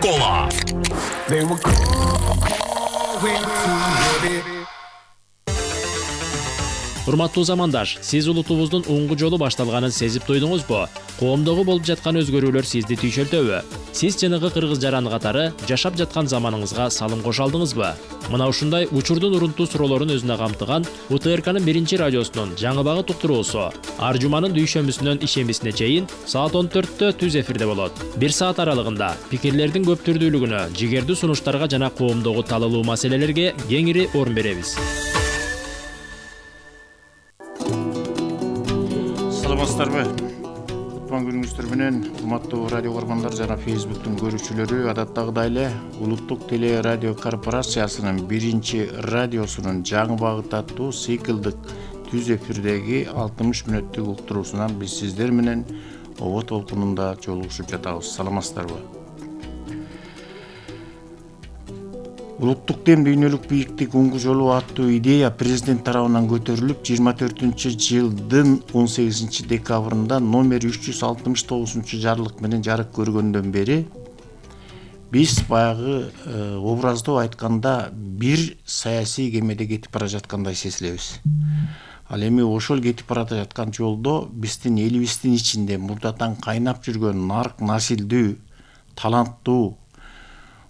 школа. Урматтуу замандаш, сиз улутубуздун уңгу жолу башталганын сезип туйдуңузбу? Коомдогу болуп жаткан өзгөрүүлөр сизди түйшөлтөбү? Сиз жанагы кыргыз жаран катары жашап жаткан заманыңызга салым кошо алдыңызбы? Мына ушундай учурдун урунтуу суроолорун өзүнө камтыган УТРКнын 1 радиосунун жаңы багыт уктуруусу ар жуманын дүйшөмбүсүнөн ишембисине чейин саат 14-тө түз эфирде болот. 1 саат аралыгында пикирлердин көп түрдүүлүгүнө, жигердүү сунуштарга жана коомдогу талалуу маселелерге кеңири орун беребиз. Саламатсыздарбы? Кутман күнүңүздөр менен, урматтуу радио көргөндөр жана Facebook'тун көрүүчүлөрү, адаттагыдай эле Улуттук теле радио корпорациясынын 1 радиосунун жаңы багыт аттуу циклдык түз эфирдеги 60 мүнөттүк уктуруусунан биз сиздер менен ого толкунунда жолугушуп жатабыз. Саламатсыздарбы? Улуттук дем дүйнөлүк бийиктик уңгу жолу аттуу идея президент тарабынан көтөрүлүп, 24-жылдын 18 декабрында номер 369 жарлык менен жарык көргөндөн бери биз баягы образдоо айтканда бир саясий кемеде кетип бара жаткандай сезилебиз. Ал эми ошол кетип бара жаткан жолдо биздин элибиздин ичинде мурдатан кайнап жүргөн нарк насилдүү, таланттуу,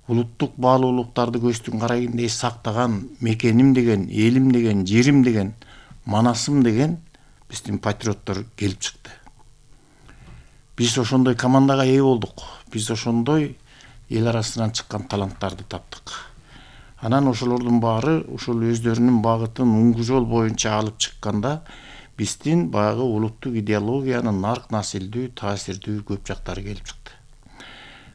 улуттук баалуулуктарды көздүн карайгындай сактаган мекеним деген, элим деген, жерим деген, манасым деген биздин патриоттор келип чыкты. Биз ошондой командага ээ болдук. Биз ошондой эл арасынан чыккан таланттарды таптык. Анан ошолордун баары ушул өздөрүнүн багытын уңгу жол боюнча алып чыкканда биздин баягы улуттук идеологиянын нарк насилдүү, таасирдүү көп жактары келип чыкты.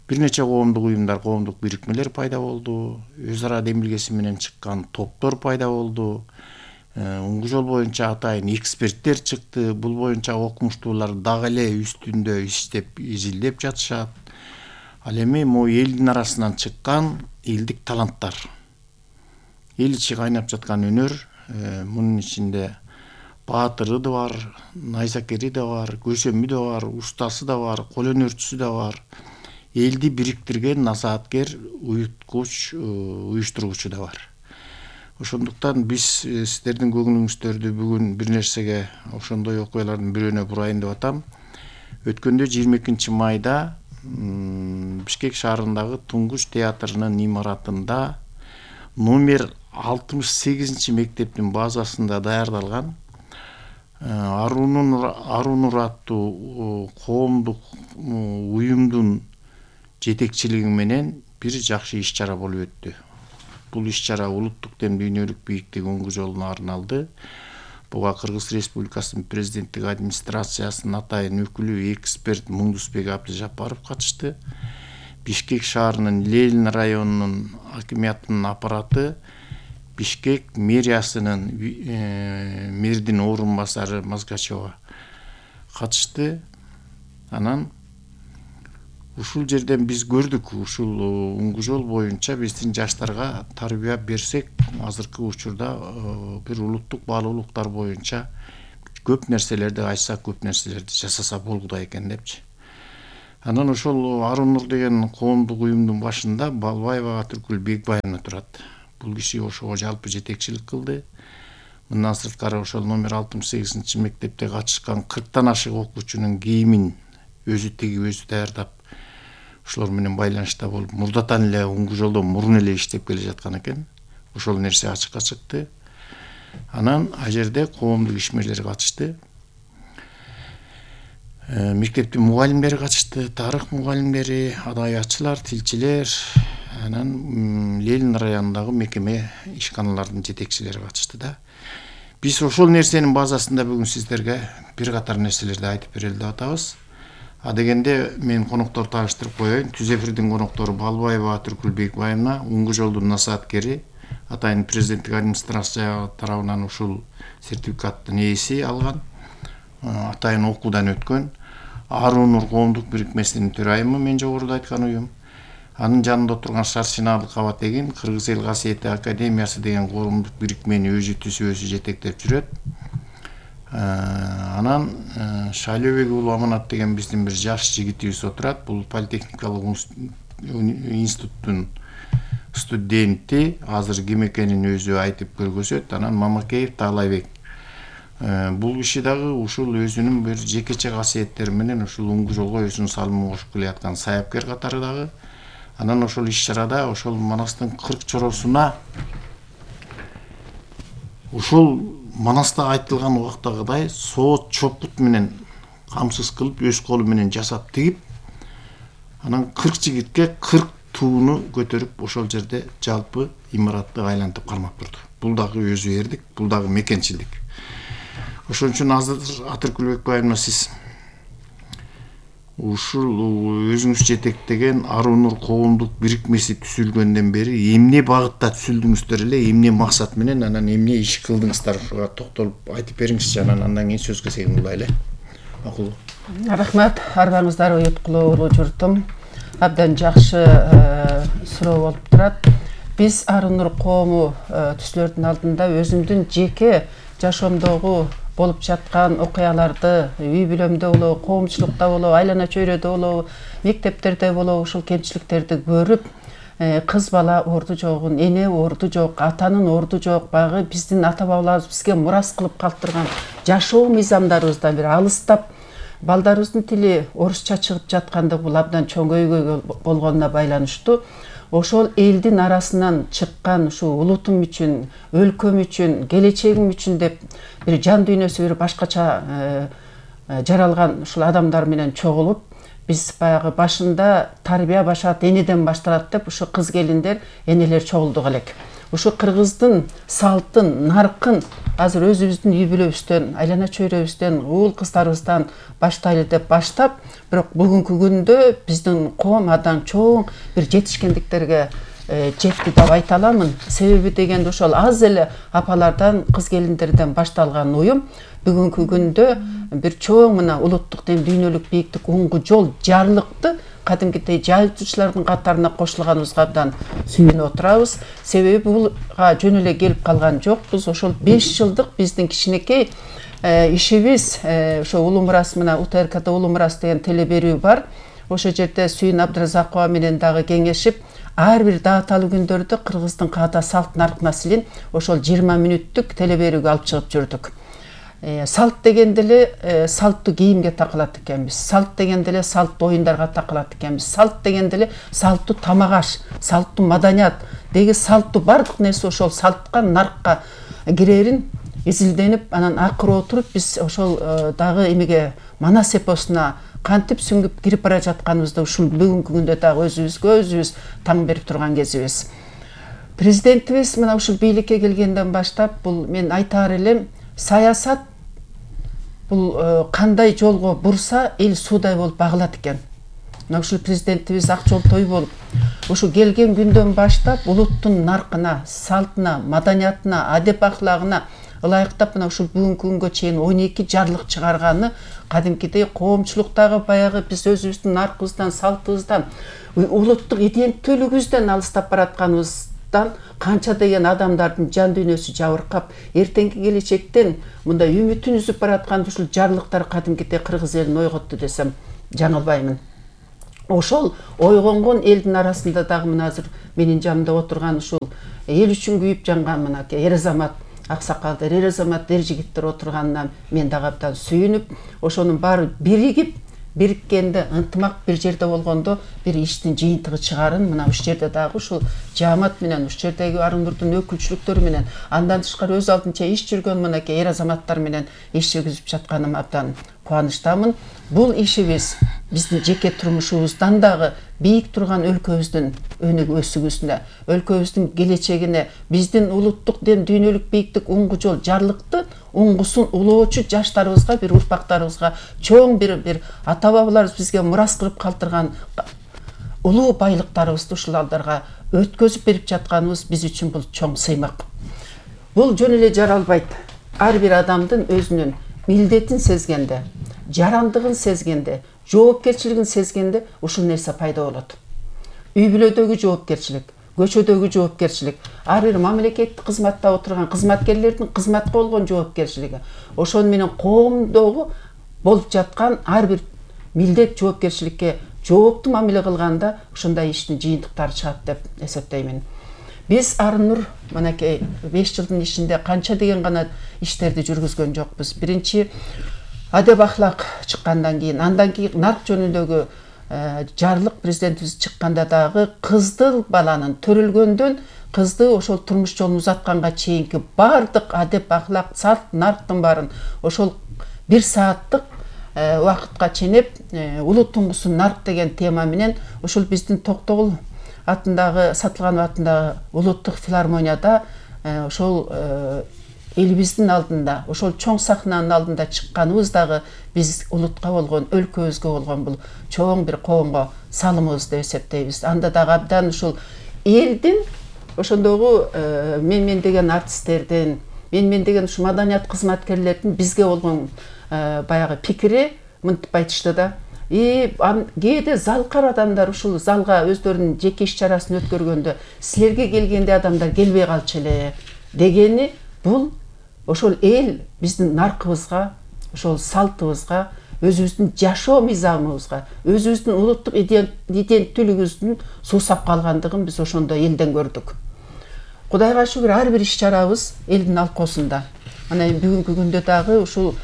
Бир нече коомдук уюмдар, коомдук бирикмелер пайда болду, өз ара демилгеси менен чыккан топтор пайда болду. Уңгу жол боюнча атайын эксперттер чыкты. Бул боюнча окумуштуулар дагы эле үстүндө иштеп, изилдеп жатышат. Ал эми могу элдин арасынан чыккан элдик таланттар. Эл ичи кайнап жаткан өнөр, мунун ичинде баатыры да бар, найзакери да бар, көсөмү да бар, устасы да бар, кол өнөрчүсү да бар. Элди бириктирген насааткер, уюткуч, уюштургучу да бар. Ошондуктан биз сиздердин көңүлүңүздөрдү бүгүн бир нерсеге, ошондой окуялардын бирөөнө бурайын деп атам. Өткөндө 22 майда Бишкек шаарындагы Туңгуч театрынын имаратында номер 68 мектептин базасында даярдалган Арунур аттуу коомдук уюмдун жетекчилиги менен бир жакшы иш-чара болуп өттү. Бул иш-чара улуттук дем дүйнөлүк бийиктик уңгу жолуна арналды. Буга Кыргыз Республикасынын президенттик администрациясынын атайын өкүлү эксперт Муңдусбек Абдыжапаров катышты. Бишкек шаарынын Ленин районунун акимиятынын аппараты, Бишкек мэриясынын мэрдин орун басары Мазгачева катышты. Анан ушул жерден биз көрдүк, ушул уңгу жол боюнча биздин жаштарга тарбия берсек, азыркы учурда бир улуттук баалуулуктар боюнча көп нерселерди айтсак, көп нерселерди жасаса болгудай экен депчи. Анан ошол Арунур деген коомдук уюмдун башында Балбаева Атыркүл Бекбаевна турат. Бул киши ошого жалпы жетекчилик кылды. Мындан сырткары ошол номер 68 мектепте катышкан 40тан ашык окуучунун кийимин өзү тигип, өзү даярдап, ошолор менен байланышта болуп, мурдатан эле уңгу жолдо мурун эле иштеп келе жаткан экен. Ошол нерсе ачыкка чыкты. Анан ал жерде коомдук ишмерлер катышты. Мектептин мугалимдери катышты, тарых мугалимдери, адабиятчылар, тилчилер, анан Ленин районундагы мекеме ишканалардын жетекчилери катышты да. Биз ошол нерсенин базасында бүгүн сиздерге бир катар нерселерди айтып берели деп атабыз. Дегенде мен конокторду тааныштырып коеюн. Түз эфирдин коноктору Балбаева Атыркүл Бекбаевна, уңгу жолдун насааткери, атайын президенттик администрация тарабынан ушул сертификаттын ээси алган, атайын окуудан өткөн. Арунур коомдук бирикмесинин төрайымы, мен жогоруда айткан уюм. Анын жанында отурган Шарсиналы Кабатегин Кыргыз эл касиети академиясы деген коомдук бирикмени өзү түзүп, өзү жетектеп жүрөт. Анан Шайлөбек уулу Аманат деген биздин бир жаш жигитибиз отурат. Бул политехникалык институттун студенти, азыр ким экенин өзү айтып көргөзөт. Анан Мамакеев Таалайбек. Бул киши дагы ушул өзүнүн бир жекече касиеттери менен ушул уңгу жолго өзүнүн салымын кошуп келаткан саяпкер катары дагы. Анан ошол иш-чарада ошол Манастын 40 чоросуна ушул Манаста айтылган убактагыдай соот чопут менен камсыз кылып, өз колу менен жасап тигип, анан 40 жигитке 40 тууну көтөрүп ошол жерде жалпы имаратты айлантып кармап турду. Бул дагы өзү эрдик, бул дагы мекенчилик. Ошон үчүн азыр Атыркүлбек байымна сиз ушул өзүңүз жетектеген Аруу Нур коомдук бирикмеси түзүлгөндөн бери эмне багытта түзүлдүңүздөр эле, эмне максат менен, анан эмне иш кылдыңыздар, ушуга токтолуп айтып бериңизчи, андан кийин сөзгө сегинулайлы. Макулбу. Рахмат, арбаңыздар уюткулуу улуу журтум. Абдан жакшы суроо болуп турат. Биз Аруу Нур коому түзүлөрдүн алдында өзүмдүн жеке жашоомдогу болуп жаткан окуяларды, үй бүлөмдө болобу, коомчулукта болобу, айлана чөйрөдө болобу, мектептерде болобу, ушул кемчиликтерди көрүп, кыз бала орду жогун, эне орду жок, атанын орду жок, багы биздин ата бабаларыбыз бизге мурас кылып калтырган жашоо мыйзамдарыбыздан бир алыстап, балдарыбыздын тили орусча чыгып жаткандыгы бул абдан чоң көйгөй болгонуна байланыштуу. Ошол элдин арасынан чыккан ушул улутум үчүн, өлкөм үчүн, келечегим үчүн деп бир жан дүйнөсү бир башкача жаралган ушул адамдар менен чогулуп, биз баягы башында тарбия башат энеден башталат деп ушу кыз келиндер, энелер чогулдук элек. Ушу кыргыздын салтын, наркын азыр өзүбүздүн үй бүлөбүздөн, айлана чөйрөбүздөн, уул кыздарыбыздан баштайлы деп баштап, бирок бүгүнкү күндө биздин коом абдан чоң бир жетишкендиктерге жетти деп айта аламын. Себеби дегенде ошол аз эле апалардан, кыз келиндерден башталган уюм бүгүнкү күндө бир чоң мына улуттук дем дүйнөлүк бийиктик уңгу жол жарлыкты кадимкидей жайылтуучулардын катарына кошулганыбызга абдан сүйүнүп отурабыз. Себеби булга жөн эле келип калган жокпуз. Ошол 5 жылдык биздин кичинекей ишибиз, ошо Улуу Мурас мына УТРКда Улуу Мурас деген теле берүү бар. Ошол жерде Сүйүн Абдыразакова менен дагы кеңешип, ар бир дааталуу күндөрдө кыргыздын каада салт нарк маселин ошол 20 мүнөттүк теле берүүгө алып чыгып жүрдүк. Салт дегенде эле салттуу кийимге такылат экенбиз. Салт дегенде эле салттуу оюндарга такылат экенбиз. Салт дегенде эле салттуу тамак аш, салттуу маданият деги салттуу бардык нерсе ошол салтка, наркка кирерин изилденип, анан акыры отуруп биз ошол дагы эмеге Манас эпосуна кантип сүңгүп кирип бара жатканыбызды ушул бүгүнкү күндө дагы өзүбүз таң берип турган кезибиз. Президентибиз мына ушул бийликке келгенден баштап бул мен айтаар элем, саясат бул кандай жолго бурса эл суудай болуп багылат экен. Мына ушул президентибиз ак жолтой болуп, ушу келген күндөн баштап улуттун наркына, салтына, маданиятына, адеп аклагына ылайыктап мына ушул бүгүнкү күнгө чейин 12 жарлык чыгарганы кадимкидей коомчулуктагы баягы биз өзүбүздүн наркыбыздан, салтыбыздан, улуттук иденттүүлүгүбүздөн алыстап баратканыбыздан канча деген адамдардын жан дүйнөсү жабыркап, эртеңки келечектен мындай үмүтүн үзүп бараткан ушул жарлыктар кадимкидей кыргыз элин ойготту десем жаңылбаймын. Ошол ойгонгон элдин арасында дагы мына азыр менин жанымда отурган ушул эл үчүн күйүп жанган мына эр азамат аксакалдар, эр азамат эр жигиттер отурганына мен дагы абдан сүйүнүп, ошонун баары биригип, бириккенде ынтымак бир жерде болгондо бир иштин жыйынтыгы чыгарын мына ушул жерде дагы ушул жаамат менен, ушул жердеги Аруу Нурдун өкүлчүлүктөрү менен, андан тышкары өз алдынча иш жүргөн мынакей эр азаматтар менен иш жүргүзүп жатканыма абдан кубанычтамын. Бул ишибиз биздин жеке турмушубуздан дагы бийик турган өлкөбүздүн өнүгүүсүнө, өлкөбүздүн келечегине, биздин улуттук дем дүйнөлүк бийиктик уңгу жол жарлыкты уңгусун улоочу жаштарыбызга, бир урпактарыбызга чоң бир ата бабаларыбыз бизге мурас кылып калтырган улуу байлыктарыбызды ушул алдарга өткөзүп берип жатканыбыз биз үчүн бул чоң сыймак. Бул жөн эле жаралбайт. Ар бир адамдын өзүнүн милдетин сезгенде, жарандыгын сезгенде, жоопкерчилигин сезгенде ушул нерсе пайда болот. Үй бүлөдөгү жоопкерчилик, көчөдөгү жоопкерчилик, ар бир мамлекеттик кызматта отурган кызматкерлердин кызматка болгон жоопкерчилиги, ошон менен коомдогу болуп жаткан ар бир милдет жоопкерчиликке жооптуу мамиле кылганда ушундай иштин жыйынтыктары чыгат деп эсептеймин. Биз Арынур мынакей 5 жылдын ичинде канча деген гана иштерди жүргүзгөн жокпуз. Биринчи адеп ахлак чыккандан кийин, андан кийин нарк жөнүндөгү жарлык президентибиз чыкканда дагы кызды баланын төрөлгөндөн кызды ошол турмуш жолун узатканга чейинки бардык адеп ахлак салт нарктын баарын ошол 1 сааттык убакытка ченеп улут туңгусу нарк деген тема менен ошол биздин Токтогул атындагы Сатылганов атындагы улуттук филармонияда ошол элибиздин алдында, ошол чоң сахнанын алдында чыкканыбыз дагы биз улутка болгон, өлкөбүзгө болгон бул чоң бир коомго салымыбыз деп эсептейбиз. Анда дагы абдан ушул элдин ошондогу мен деген артисттердин, мен деген ушу маданият кызматкерлердин бизге болгон баягы пикири мынтип айтышты да. Кээде залкар адамдар ушул залга өздөрүнүн жеке иш чарасын өткөргөндө силерге келгенде адамдар келбей калчу эле дегени бул ошол эл биздин наркыбызга, ошол салтыбызга, өзүбүздүн жашоо мыйзамыбызга, өзүбүздүн улуттук иденттүүлүгүбүздүн суусап калгандыгын биз ошондо элден көрдүк. Кудайга шүгүр ар бир иш чарабыз элдин алкоосунда. Ана бүгүнкү күндө дагы ушул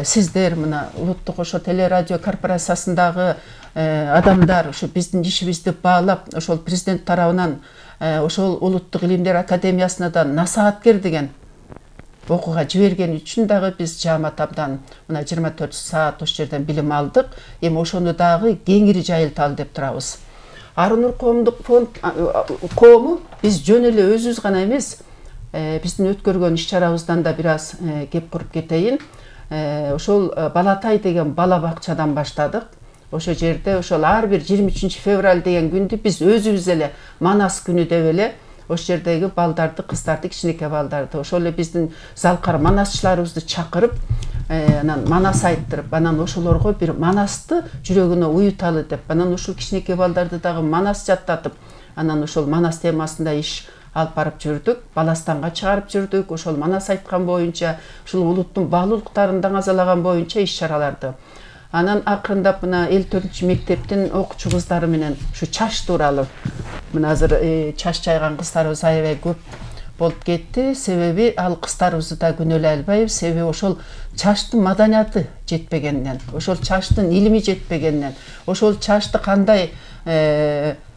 сиздер мына улуттук ошо телерадио корпорациясындагы адамдар ушу биздин ишибизди баалап ошол президент тарабынан ошол улуттук илимдер академиясынан насааткер деген окууга жиберген үчүн дагы биз жаамат абдан мына 24 саат ошол жерден билим алдык. Эми ошону дагы кеңири жайылталы деп турабыз. Арынур коомдук фонд коому биз жөн эле өзүбүз гана эмес, биздин өткөргөн иш чарабыздан да бир аз кеп куруп кетейин. Ошол Балатай деген бала бакчадан баштадык. Ошол жерде ошол ар бир 23 февраль деген күндү биз өзүбүз эле Манас күнү деп эле ошол жердеги балдарды, кыздарды, кичинекей балдарды, ошол эле биздин залкар манасчыларыбызды чакырып, анан манас айттырып, анан ошолорго бир манасты жүрөгүнө уюталы деп, анан ушул кичинекей балдарды дагы манас жаттатып, анан ошол манас темасында иш алып барып жүрдүк, Баластанга чыгарып жүрдүк, ошол манас айткан боюнча, ушул улуттун баалуулуктарын даңазалаган боюнча иш чараларды. Анан акырындап мына 54 мектептин окуучу кыздары менен ушу чач тууралуу мына азыр чач жайган кыздарыбыз аябай көп болуп кетти. Себеби ал кыздарыбызды да күнөөлөй албайбыз. Себеби ошол чачтын маданияты жетпегенден, ошол чачтын илими жетпегенден, ошол чачты кандай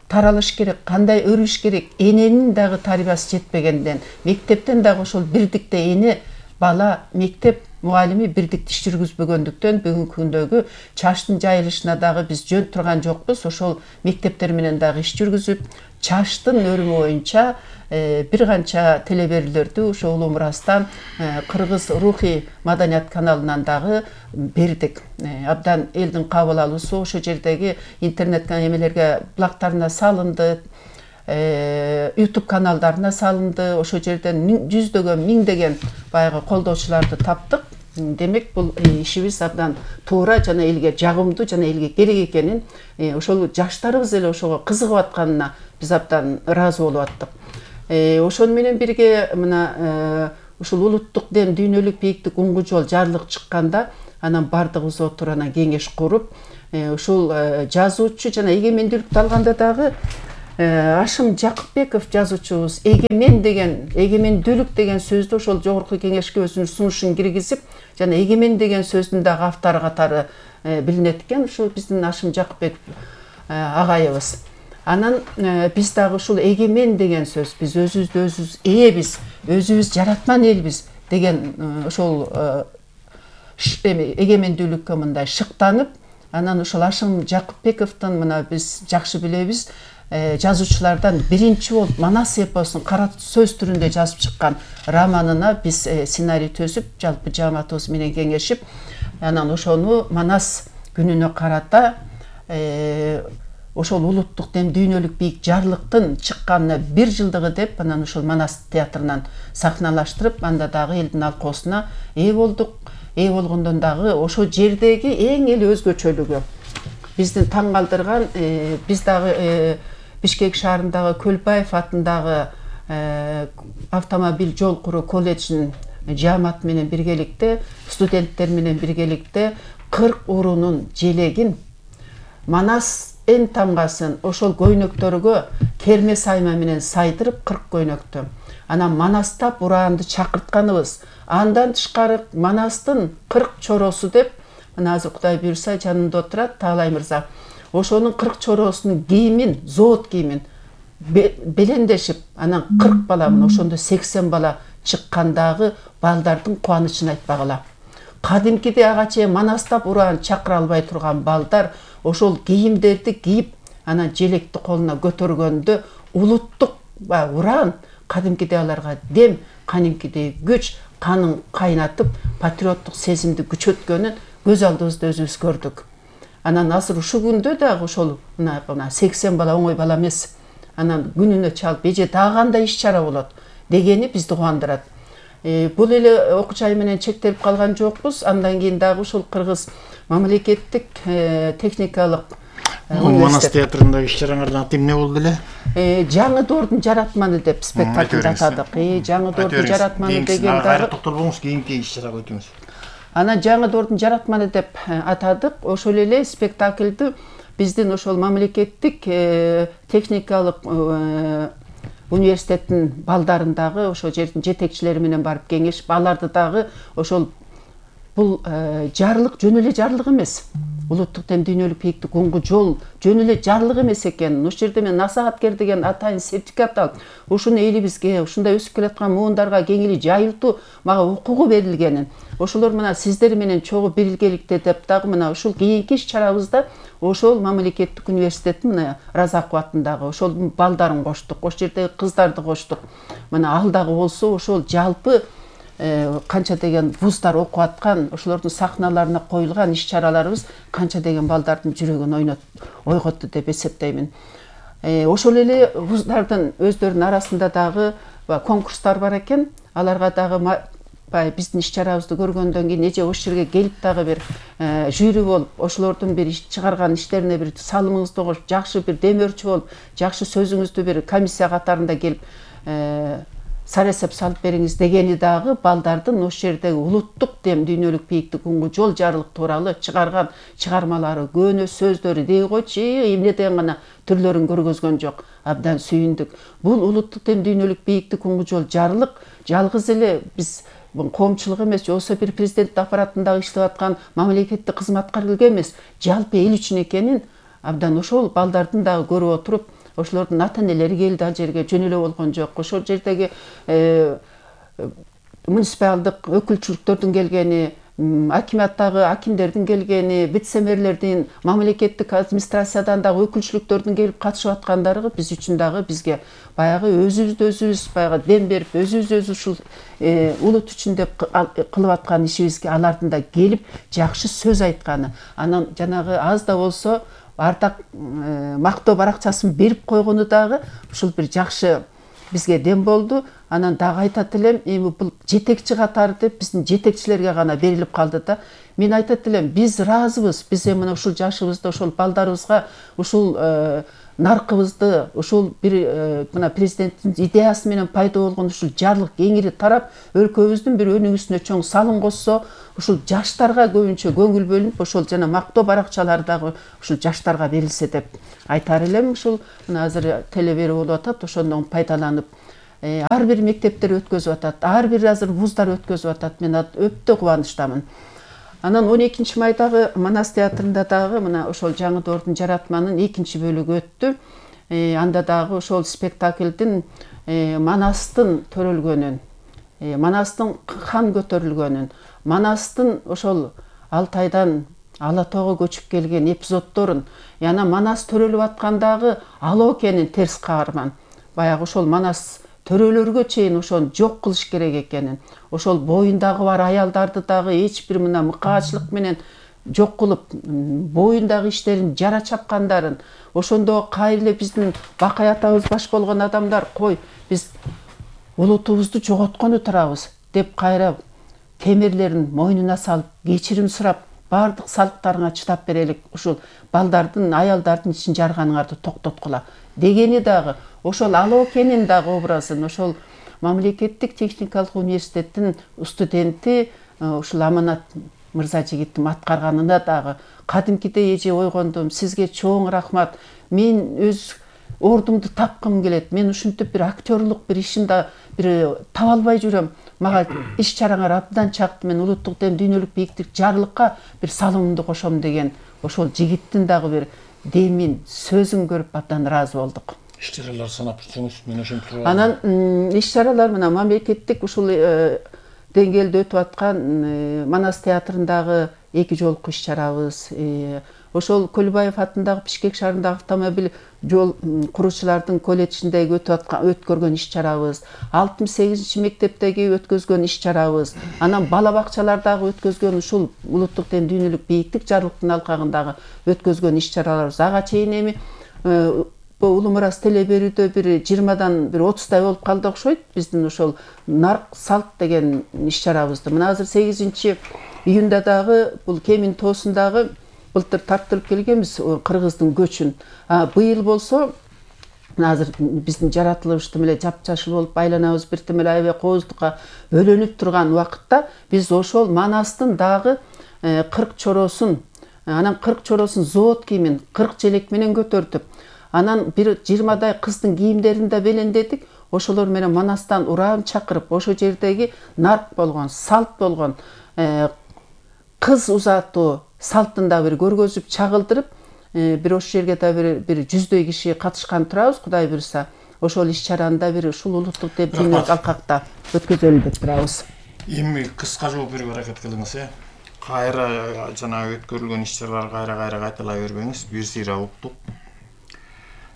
таралыш керек, кандай өрүш керек, эненин дагы тарбиясы жетпегенден, мектептен дагы ошол бирдикте эне, бала, мектеп мугалими бирдикте иш жүргүзбөгөндүктөн бүгүнкү күндөгү чачтын жайылышына дагы биз жөн турган жокпуз. Ошол мектептер менен дагы иш жүргүзүп, чачтын өрүмү боюнча бир канча телеберүүлөрдү ошо Улуу Мурастан Кыргыз рухий маданият каналынан дагы бердик. Абдан элдин кабыл алуусу ошо жердеги интернет эмелерге блогтарына салынды, YouTube каналдарына салынды. Ошо жерден жүздөгөн, миңдеген баягы колдоочуларды таптык. Демек бул ишибиз абдан туура жана элге жагымдуу жана элге керек экенин, ошол жаштарыбыз эле ошого кызыгып атканына биз абдан ыраазы болуп аттык. Ошону менен бирге мына ушул улуттук дем дүйнөлүк бийиктик уңгу жол жарлык чыкканда анан бардыгыбыз отуруп анан кеңеш куруп, ушул жазуучу жана эгемендүүлүктү алганда дагы Ашым Жакыпбеков жазуучубуз эгемендүүлүк деген сөздү ошол жогорку кеңешке өзүнүн сунушун киргизип, жана эгемен деген сөздүн дагы автору катары билинет экен, ушул биздин Ашым Жакыпбеков агайыбыз. Анан биз дагы ушул эгемен деген сөз, биз өзүбүздү өзүбүз ээбиз, өзүбүз жараткан элбиз деген ошол эгемендүүлүккө мындай шыктанып, анан ошол Ашым Жакыпбековдун мына биз жакшы билебиз, жазуучулардан биринчи болуп Манас эпосун кара сөз түрүндө жазып чыккан романына биз сценарий төзүп, жалпы жааматыбыз менен кеңешип, анан ошону Манас күнүнө карата ошол улуттук дем дүйнөлүк бийик жарлыктын чыкканына 1 жылдыгы деп, анан ошол Манас театрынан сахналаштырып, анда дагы элдин алкоосуна ээ болдук. Ээ болгондон дагы ошол жердеги эң эле өзгөчөлүгү биздин таң калтырган, биз дагы Бишкек шаарындагы Көлбаев атындагы автомобиль жол куруу колледжинин жааматы менен биргеликте, студенттер менен биргеликте 40 уруунун желегин Манас эн тамгасын ошол көйнөктөргө керме сайма менен сайдырып 40 көйнөктү. Анан Манастап ураанды чакыртканыбыз. Андан тышкары Манастын 40 чоросу деп, мына азыр Кудай буйрса жанымда отурат Таалай мырза. Ошонун 40 чоросунун кийимин, зоот кийимин белендешип, анан 40 баламын, ошондо 80 бала чыккандагы балдардын кубанычын айтпагыла. Кадимкиде ага чейин Манастап ураан чакыра албай турган балдар ошол кийимдерди кийип, анан желекти колуна көтөргөндө улуттук ураан кадимкиде аларга дем, кадимкидей күч, канын кайнатып, патриоттук сезимди күчөткөнүн көз алдыбызда өзүбүз көрдүк. Анан азыр ушул күндө дагы ошол мына 80 бала оңой бала эмес. Анан күнүнө чалып, эже дагы кандай иш-чара болот дегени бизди кубандырат. Бул эле окуу жай менен чектелип калган жокпуз. Андан кийин дагы ушул Кыргыз мамлекеттик техникалык Манас театрындагы иш-чараңардын аты эмне болду эле? Жаңы доордун жаратманы деп спектакльди атадык. Жаңы доордун жаратманы деген дагы токтолбоңуз, кийинки иш-чарага өтүңүз. Анан жаңы доордун жаратманы деп атадык. Ошол эле спектакльди биздин ошол мамлекеттик техникалык университеттин балдарындагы ошол жердин жетекчилери менен барып кеңешип, аларды дагы ошол бул жарлык жөн эле жарлык эмес. Улуттук дем дүйнөлүк бийиктик уңгу жол жөн эле жарлык эмес экен. Ошол жерде мен насагаткер деген атайын сертификат алып, ушуну элибизге, ушундай өсүп келаткан муундарга кеңири жайылтуу мага укугу берилгенин, ошолор мына сиздер менен чогуу биргеликте деп дагы мына ушул кийинки иш-чарабызда ошол мамлекеттик университеттин мына Разаков атындагы ошол балдарын коштук, ошол жердеги кыздарды коштук. Мына ал дагы болсо ошол жалпы канча деген вуздар окуп аткан, ошолордун сахналарына коюлган иш-чараларыбыз канча деген балдардын жүрөгүн ойготту деп эсептеймин. Ошол эле вуздардын өздөрүнүн арасында дагы конкурстар бар экен. Аларга дагы биздин иш-чарабызды көргөндөн кийин эже ошол жерге келип дагы бир жюри болуп, ошолордун бир чыгарган иштерине бир салымыңызды кошуп, жакшы бир демөөрчү болуп, жакшы сөзүңүздү бир комиссия катарында келип саресеп салып бериңиз дегени дагы балдардын ошол жердеги улуттук дем дүйнөлүк бийиктик уңгу жол жарлык тууралуу чыгарган чыгармалары, көөнө сөздөрү дей койчу, эмне деген гана түрлөрүн көргөзгөн жок. Абдан сүйүндүк. Бул улуттук дем дүйнөлүк бийиктик уңгу жол жарлык жалгыз эле биз коомчулук эмес, жоксо бир президент аппаратында иштеп аткан мамлекеттик кызматкерлерге эмес, жалпы эл үчүн экенин абдан ошол балдардын дагы көрүп отуруп, ошолордун ата-энелери келди ал жерге, жөн эле болгон жок. Ошол жердеги муниципалдык өкүлчүлүктөрдүн келгени, акиматтагы акимдердин келгени, вице-мэрлердин, мамлекеттик администрациядан дагы өкүлчүлүктөрдүн келип катышып аткандары биз үчүн дагы бизге баягы өзүбүз баягы дем берип, өзүбүз ушул улут үчүн деп кылып аткан ишибизге алардын да келип жакшы сөз айтканы, анан жанагы аз да болсо ардак мактоо баракчасын берип койгону дагы ушул бир жакшы бизге дем болду. Анан дагы айтат элем, эми бул жетекчи катары деп биздин жетекчилерге гана берилип калды да. Мен айтат элем, биз ыраазыбыз. Биз эми мына ушул жашыбызда ушул балдарыбызга ушул наркыбызды, ушул бир мына президенттин идеясы менен пайда болгон ушул жарлык кеңири тарап, өлкөбүздүн бир өнүгүүсүнө чоң салым кошсо, ушул жаштарга көбүнчө көңүл бөлүнүп, ошол жана мактоо баракчалары дагы ушул жаштарга берилсе деп айтар элем. Ушул мына азыр телебери болуп атат, ошондон пайдаланып ар бир мектептер өткөзүп атат, ар бир азыр вуздар өткөзүп атат. Мен өтө кубанычтамын. Анан 12 майдагы Манас театрында дагы мына ошол жаңы доордун жаратманын 2 бөлүгү өттү. Анда дагы ошол спектаклдин Манастын төрөлгөнүн, Манастын хан көтөрүлгөнүн, Манастын ошол Алтайдан Ала тоого көчүп келген эпизоддорун, жана Манас төрөлүп аткандагы Алоо экенин терс каарман. Баягы ошол Манас төрөлөргө чейин ошону жок кылыш керек экенин, ошол боюндагы бар аялдарды дагы эч бир мына мыкаачылык менен жок кылып, боюндагы иштерин жара чапкандарын, ошондо кайра эле биздин Бакай атабыз баш болгон адамдар, кой, биз улутубузду жоготкону турабыз деп кайра темирлерин мойнуна салып, кечирим сурап, бардык салыктарыңа чыдап берелик, ушул балдардын, аялдардын ичин жарганыңарды токтоткула дегени дагы, ошол Алоо экенин дагы образын, ошол мамлекеттик техникалык университеттин студенти, ушул Аманат Мырзажигиттин аткарганына дагы кадимкидей эже ойгондум. Сизге чоң рахмат. Мен өз ордумду тапкым келет. Мен ушинтип бир актерлук бир ишимде бир таба албай жүрөм. Мага иш чараңар абдан чакты. Мен улуттук дем дүйнөлүк бийиктик жарлыкка бир салымымды кошом деген ошол жигиттин дагы бир демин, сөзүн көрүп абдан ыраазы болдук. Иш чаралар санап жүрсөңүз, мен ошентип турам. Анан иш чаралар мына мамлекеттик ушул деңгээлде өтүп аткан Манас театрындагы 2 жолку иш чарабыз, ошол Көлбаев атындагы Бишкек шаарындагы автомобиль жол куруучулардын колледжиндеги өткөргөн иш чарабыз, 68 мектептеги өткөзгөн иш чарабыз, анан бала бакчалардагы өткөзгөн ушул улуттук дем дүйнөлүк бийиктик жарлыктын алкагындагы өткөзгөн иш чараларыбыз ага чейин эми Улуу Мурас теле берүүдө бир 20дан бир 30дай болуп калды окшойт. Биздин ошол нарк салт деген иш чарабызды. Мына азыр 8 июнда дагы бул Кемин тоосундагы былтыр тарттырып келгенбиз кыргыздын көчүн. Быйыл болсо азыр биздин жаратылышты эле жапжашыл болуп айланабыз биртим эле аябай кооздукка өлөнүп турган убакытта биз ошол Манастын дагы 40 чороосун, анан 40 чороосун завод кийимин 40 желек менен көтөрдүк. Анан бир 20дай кыздын кийимдерин да белендедик. Ошолор менен Манастан ураан чакырып, ошо жердеги нарк болгон, салт болгон кыз узатуу салтын да бир көргөзүп чагылдырып, бир ошол жерге да бир 100дөй киши катышкан турабыз, Кудай буйрса. Ошол иш чараны да бир ушул улуттук деп дүйнөлүк алкакта өткөзөлү деп турабыз. Эми кыска жооп берүүгө аракет кылыңыз, Кайра жана өткөрүлгөн иш чаралар кайра кайталай бербеңиз, бир сыйра уктук.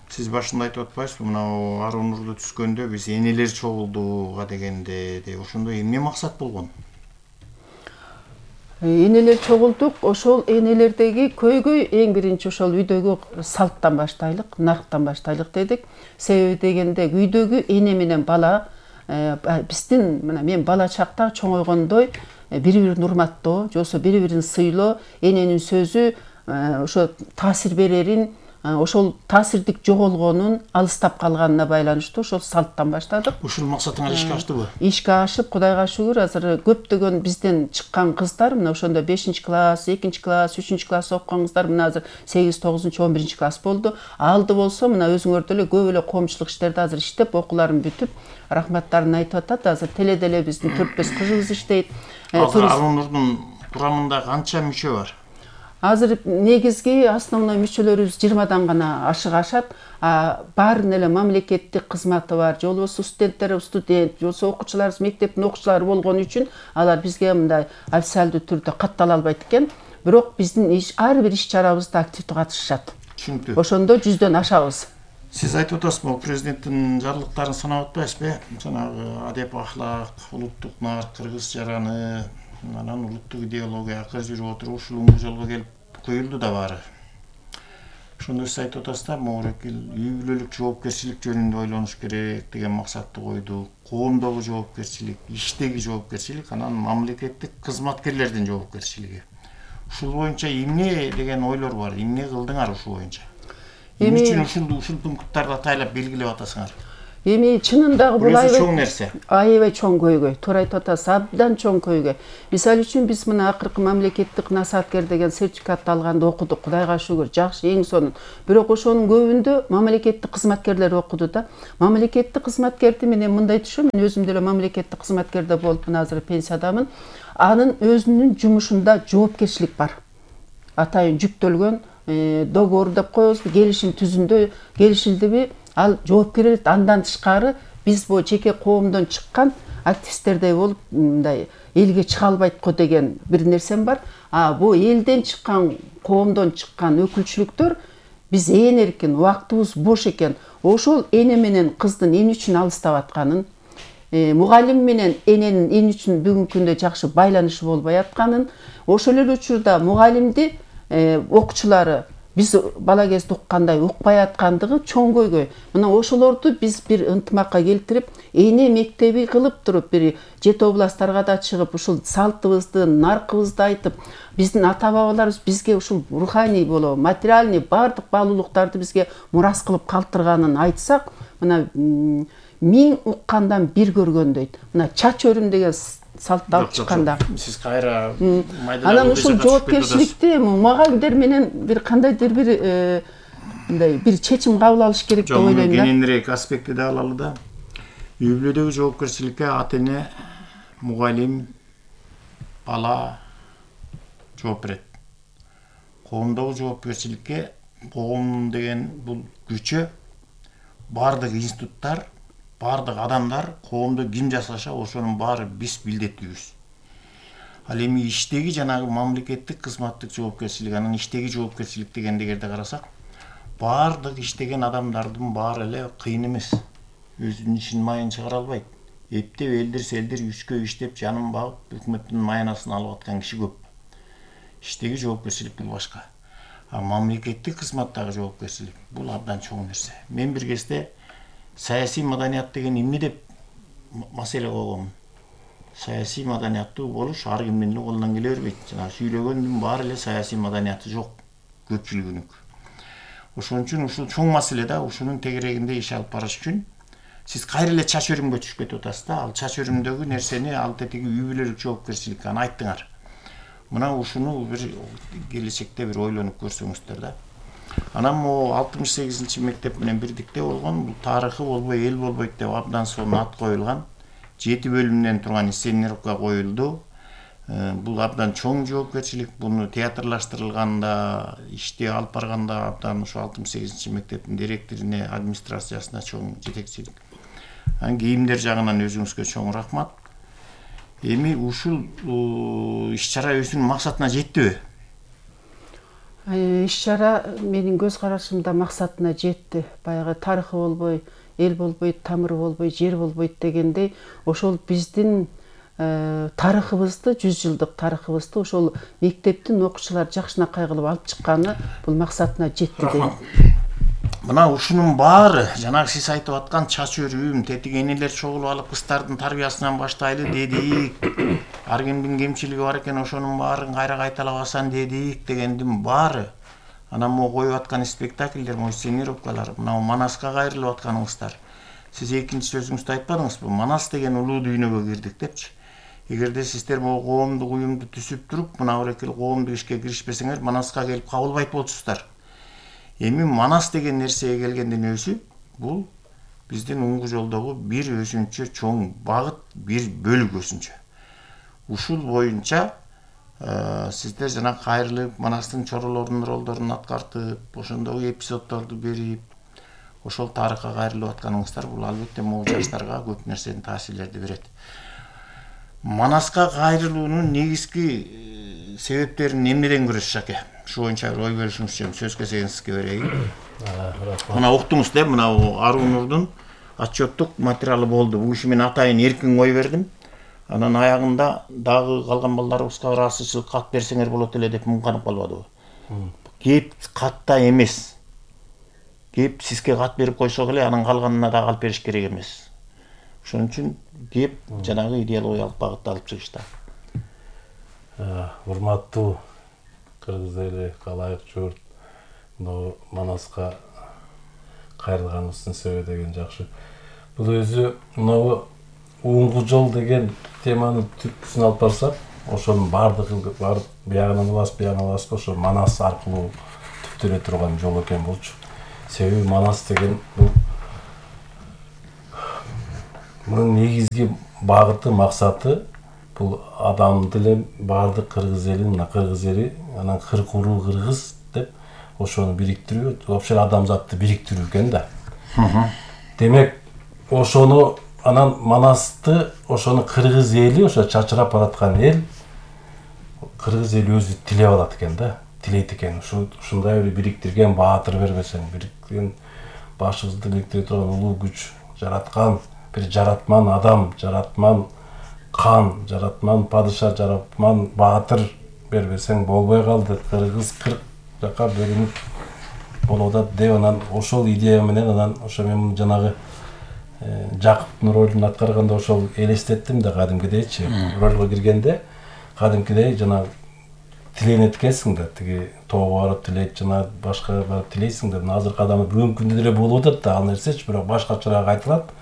Сиз башында айтып атпайсызбы, мына Аруу Нурду түскөндө биз энелер чогулдууга дегенде, ошондо эмне максат болгон? Энелер чогулдук, ошол энелердеги көйгөй эң биринчи ошол үйдөгү салттан баштайлык, нарктан баштайлык дедик. Себеби дегенде үйдөгү эне менен бала биздин мына мен бала чакта чоңойгондой бири-бирин урматтоо, жосо бири-бирин сыйлоо, эненин сөзү ошо таасир берерин, ошол таасирдик жоголгонун, алыстап калганына байланыштуу ошол салттан баштадык. Ушул максатыңар ишке аштыбы? Ишке ашып, Кудайга шүгүр, азыр көптөгөн бизден чыккан кыздар, мына ошондо 5-класс, 2-класс, 3-класс окуган кыздар мына азыр 8, 9, 11-класс болду. Алды болсо мына өзүңөр деле көп эле коомчулук иштерде азыр иштеп, окууларын бүтүп, рахматтарын айтып атат. Азыр теледе эле биздин 4-5 кызыбыз иштейт. Азыр Аруу Нурдун курамында канча мүчө бар? Азыр негизги основной мүчөлөрүбүз 20дан гана ашыгашат. Баарын эле мамлекеттик кызматы бар, же болбосо студент, же болбосо окуучуларыбыз мектептин окуучулары болгон үчүн алар бизге мындай официалдуу түрдө каттала албайт экен. Бирок биздин ар бир иш чарабызда активдүү катышышат. Түшүнүктүү. Ошондо 100дөн ашабыз. Сиз айтып атасызбы, президенттин жарлыктарын санап атпайсызбы? Жанагы адеп ахлак, улуттук нарк, кыргыз жараны, анан улуттук идеология акыр жүрүп отуруп ушул жолго келип коюлду да баары. Ошондо сиз айтып атасыздар, могулекил үй бүлөлүк жоопкерчилик жөнүндө ойлонуш керек деген максатты койдук. Коомдогу жоопкерчилик, иштеги жоопкерчилик, анан мамлекеттик кызматкерлердин жоопкерчилиги. Ушул боюнча эмне деген ойлор бар? Эмне кылдыңар ушул боюнча? Эмне үчүн ушул пункттарды атайлап белгилеп атасыңар? Эми чынындагы бул чоң нерсе. Аябай чоң көйгөй. Туура айтып атасыз, абдан чоң көйгөй. Мисалы үчүн биз мына акыркы мамлекеттик насааткер деген сертификатты алганда окудук. Кудайга шүгүр, жакшы, эң сонун. Бирок ошонун көбүндө мамлекеттик кызматкерлер окуду да. Мамлекеттик кызматкерди менен мындай түшүнөм, мен өзүм деле мамлекеттик кызматкерде болуп, мына азыр пенсиядамын. Анын өзүнүн жумушунда жоопкерчилик бар. Атайын жүктөлгөн договор деп коебузбу, келишим түзүндө келишилдиби, ал жооп берет. Андан тышкары биз бу жеке коомдон чыккан активисттердей болуп мындай элге чыга албайт го деген бир нерсем бар. Бу элден чыккан, коомдон чыккан өкүлчүлүктөр биз ээн эркин, убактыбыз бош экен, ошол эне менен кыздын эмне үчүн алыстап атканын, мугалим менен эненин эмне үчүн бүгүнкү күндө жакшы байланышы болбой атканын, ошол эле учурда мугалимди окуучулары биз бала кезде уккандай укпай аткандыгы чоң көйгөй. Мына ошолорду биз бир ынтымакка келтирип, эне мектеби кылып туруп, бир жет областтарга да чыгып, ушул салтыбызды, наркыбызды айтып, биздин ата-бабаларыбыз бизге ушул руханий боло, материальный бардык баалуулуктарды бизге мурас кылып калтырганын айтсак, мына 1000 уккандан бир көргөн дейт. Мына чач өрүм деген салтты алып чыкканда. Сиз кайра Анан ушул жоопкерчиликти мугалимдер менен бир кандайдыр бир мындай бир чечим кабыл алыш керек деп ойлойм да. Кененирээк аспектти да алалы да. Үй бүлөдөгү жоопкерчиликке ата-эне, мугалим, бала жооп берет. Коомдогу жоопкерчиликке коом деген бул күчө, бардык институттар, бардык адамдар коомдо ким жасаша ошонун баары биз билдеттүүбүз. Ал эми иштеги жанагы мамлекеттик кызматтык жоопкерчилик, анан иштеги жоопкерчилик дегенди эгерде карасак, бардык иштеген адамдардын баары эле кыйын эмес. Өзүнүн ишин майын чыгара албайт. Эптеп элдир үчкө иштеп жанын багып, өкмөттүн майынасын алып аткан киши көп. Иштеги жоопкерчилик бул башка. А мамлекеттик кызматтагы жоопкерчилик бул абдан чоң нерсе. Мен бир кезде саясий маданият деген эмне деп маселе койгом. Саясий маданияттуу болуш ар кимдин эле колунан келе бербейт. Жана сүйлөгөндүн баары эле саясий маданияты жок, көпчүлүгүнүн. Ошон үчүн ушул чоң маселе да, ушунун тегерегинде иш алып барыш үчүн сиз кайра эле чач өрүмгө түшүп кетип атасыз да. Ал чач өрүмдөгү нерсени ал тетиги үй бүлөлүк жоопкерчилик аны айттыңар. Мына ушуну бир келечекте бир ойлонуп көрсөңүздөр да. Анан могу 68 мектеп менен бирдикте болгон, бул тарыхы болбой эл болбойт деп абдан сонун ат коюлган 7 бөлүмдөн турган инсценировка коюлду. Бул абдан чоң жоопкерчилик. Буну театрлаштырылганда, ишти алып барганда абдан ушу 68 мектептин директоруне, администрациясына чоң жетекчилик. Кийимдер жагынан өзүңүзгө чоң рахмат. Эми ушул иш-чара өзүнүн максатына жеттиби? Иш-чара менин көз карашымда максатына жетти. Баягы тарыхы болбой, эл болбойт, тамыры болбой, жер болбойт дегендей, ошол биздин тарыхыбызды, 100 жылдык тарыхыбызды ошол мектептин окуучулары жакшынакай кылып алып чыкканы бул максатына жетти дейм. Мына ушунун баары жанагы сиз айтып аткан чач өрүүм, тетиги энелер чогулуп алып кыздардын тарбиясынан баштайлы дедик. Ар кимдин кемчилиги бар экен, ошонун баарын кайра кайталабасан дедик дегендин баары. Анан могу коюп аткан спектакльдер, инсценировкалар, мына Манаска кайрылып атканыңыздар. Сиз экинчи сөзүңүздө айтпадыңызбы? Манас деген улуу дүйнөгө кирдик депчи. Эгерде сиздер могу коомдук уюмду түзүп туруп, мына бирекел коомдук ишке киришпесеңер, Манаска келип кабылбайт болчусуздар. Эми Манас деген нерсеге келгендин өзү бул биздин уңгу жолдогу бир өзүнчө чоң багыт, бир бөлүк өзүнчө. Ушул боюнча сиздер жана кайрылып, Манастын чоролорунун ролдорун аткартып, ошондогу эпизоддорду берип, ошол тарыхка кайрылып атканыңыздар бул албетте могу жаштарга көп нерсени таасирлерди берет. Манаска кайрылуунун негизги себептерин эмнеден көрөсүз аке? Ушул боюнча ой бөлүшүңүз үчүн сөз кезегин сизге берейин. Мына уктуңуз да, мына Арунурдун отчеттук материалы болду. Бул иши мен атайын эркин кой бердим. Анан аягында дагы калган балдарыбызга бир ачык кат берсеңер болот эле деп муңканып калбадыбы? Кеп катта эмес. Кеп сизге кат берип койсок эле анын калганына дагы алып бериш керек эмес. Ошон үчүн кеп жанагы идеологиялык багытты алып чыгышта. Урматтуу кыргыз эли, калайык журт, Манаска кайрылганыбыздын себеби деген жакшы. Бул өзү мынабу уңгу жол деген теманын түпкүсүн алып барсак, ошонун баардыгын барып биягынан аласыз, ошо Манас аркылуу түптөлө турган жол экен болчу. Себеби Манас деген бул мунун негизги багыты, максаты бул адамды эле баардык кыргыз элин, кыргыз эли, анан кыркуруу кыргыз деп ошону бириктирүү, вообще адамзатты бириктирүү экен да. Демек, ошону анан Манасты, ошону кыргыз эли, ошо чачырап бараткан эл, кыргыз эли өзү тилеп алат экен да, тилейт экен. Ушундай бир бириктирген баатыр бербесең, бириктирген башыбызды бириктире турган улуу күч жараткан, бир жаратман адам, жаратман кан, жаратман падыша, жаратман баатыр бербесең болбой калды. Кыргыз 40 жака бөлүнүп болуп атат деп, анан ошол идея менен анан ошо мен жанагы Жакыптын ролун аткарганда ошол элестеттим да, кадимкидейчи. Ролго киргенде кадимкидей жана тиленет экенсиң да, тиги тоого барып тилейт, жана башка барып тилейсиң да. Азыркы адамда бүгүнкү күндө деле болуп атат да ал нерсечи, бирок башкачараак айтылат.